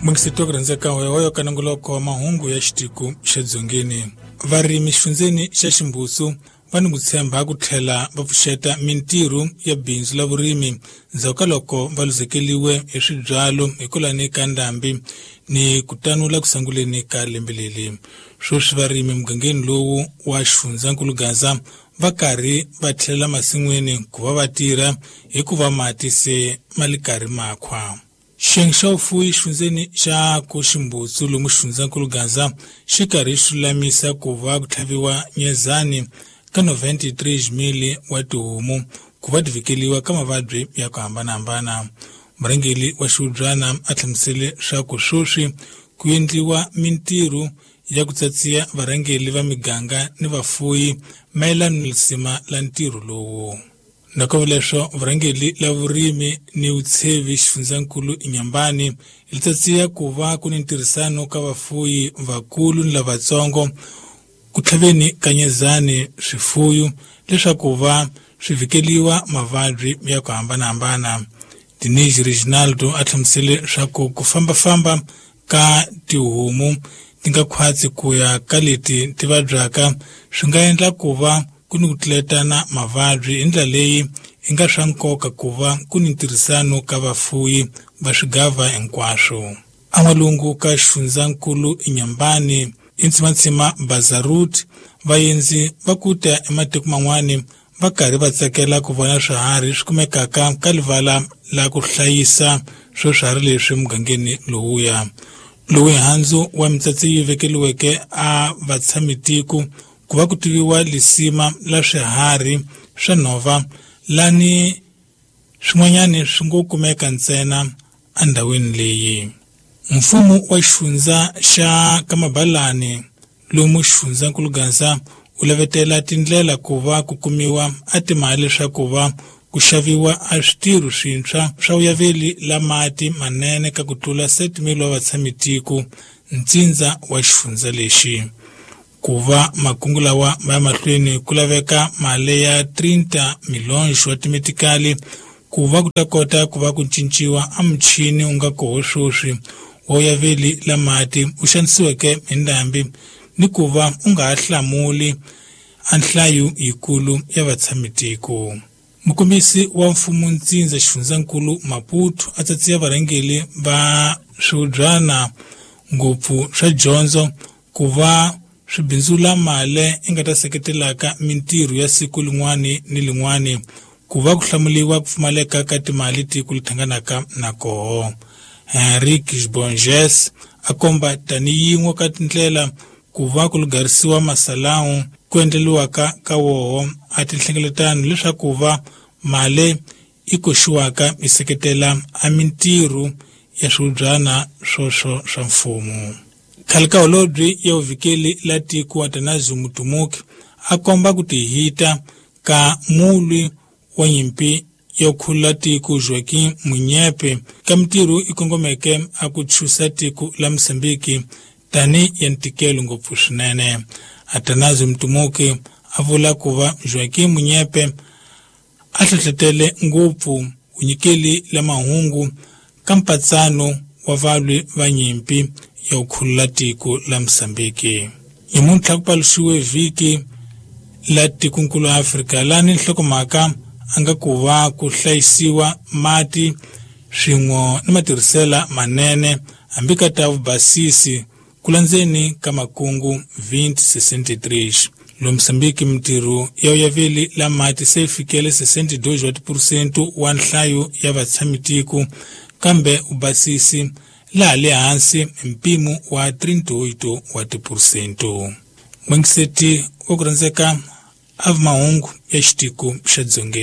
Mungiseti wa ku rhandzeka hoyohoyo ka nongoloko wa mahungu ya xitiko xa Dzongeni. Varimi xifundzeni xa Ximbusu va ni ku tshemba ku tlhela va pfuxeta mintirho ya bindzu la vurimi ndzhaku ka loko va luzekeliwe hi swibyalo hikwalani ka ndhambi ni ku tanula ku sunguleni ka lembe leri. Sweswi varimi mugangeni lowu wa xifundzankulu Gaza va karhi va tlhelela masin'wini ku va va tirha hikuva mati se ma li karhi makhwa. Xiyenge xa vufuwi xifundzeni xa Koximbutsu lomu xifundzankulu Gaza xi karhi xi lulamisa ku va ku tlhaviwa nyezani ka 93 wa tihomu ku va ti vhikeliwa ka mavabyi ya ku hambanahambana. Murhangeri wa xihubyana a hlamusele swa ku sweswi ku endliwa mintirho ya ku tsatsiya varhangeri va miganga ni vafuwi mayelana ni lisima la ntirho lowu. Nakambe leswo vurhangeri la vurimi ni vutshevi xifundzankulu Inhambane li tsatsiya ku va ku ni ntirhisano ka vafuwi vakulu ni lavatsongo ku tlhaveni ka nyezani swifuyu leswaku va swi vhikeliwa mavabyi ya ku hambanahambana. Denise Reginaldo a hlamusele swa ku ku fambafamba ka tihomu ti nga khwatsi ku ya ka leti ti vabyaka swi nga endla ku va ku ni ku tluletana mavabyi hi ndlela leyi i nga swa nkoka ku va ku ni ntirhisano ka vafuwi va swigava hinkwaswo. An'walungu ka xifundzankulu Inhambane i Bazarut vaendzi va ku ta ematiko man'wani va karhi va tsakela ku vona swiharhi swi kumekaka ka livala la ku hlayisa swo swiharhi leswi mugangeni lowuya. Lowu handzu wa mitsatsi yi vekeliweke a vatshamitiko ku va ku tiviwa lisima la swiharhi swa nhova lani swin'wanyani swi ngo kumeka ntsena endhawini leyi. Mfumo wa xifundza xa Kamabalani lomu xifundzankulu Gaza u lavetela tindlela ku va ku kumiwa a timali leswaku va ku xaviwa a switirho swintshwa swa vuyaveli la mati manene ka ku tlula 7,000 wa vatshamitiko ntsindza wa xifundza lexi. Ku va makungu lawa ma ya mahlweni ku laveka mali ya 30 milhões wa timetikali ku va ku ta kota ku va ku cinciwa a muchini wu nga koho sweswi wa vuyaveli la mati u xanisiweke hi ndhambi ni ku va u nga ha hlamuli a nhlayo yikulu ya vatshamitiko. Mukombisi wa mfumo ntsindza xifundzankulu Maputo a tsatsiya varhangeri va swihubyana ngopfu swa dyondzo ku va swi bindzula mali i nga ta seketelaka mintirho ya siku lin'wani ni lin'wani ku va ku hlamuliwa ku pfumaleka ka timali tiko li thanganaka na koho. Henrique Bonges a komba tani yin'we ka tindlela ku va ku lugarisiwa masalawu ku endleliwaka ka woho a tinhlengeletano leswaku va mali i koxiwaka yi seketela a mintirho ya swihubyana swoswo swa mfumo. Khale ka holobye ya vuvhikeli la tiko Atanasio Mutumuki a komba ku tihita ka mulwi wa nyimpi ya khulula tiko Joaquim Munyepe ka mintirho i kongomeke a ku chusa tiko la Mozambique tani ya ntikelo ngopfu swinene. Atanasio Mutumuki a vula ku va Joaquim Munyepe a hlohletele ngopfu vunyikeli la mahungu ka mpatsano wa valwi va nyimpi ya ku khulula tiko la Mozambique. Nyamuntlha ku paluxiwe vhiki la tikonkulu Afrika lani nhlokomhaka a nga ku va ku hlayisiwa mati swin'we ni matirhisela manene hambi ka ta vubasisi ku landzeni ka makungu 2063. Lo Mozambique mintirho ya vuyaveli la mati se yi fikele 62 wa tiphurusente wa nhlayo ya vatshamitiko kambe vubasisi laha le hansi hi mpimo wa 38 wa tiphurusente. N'wangiseti wa ku rhandzeka a mahungu ya xitiko xa Dzongeni.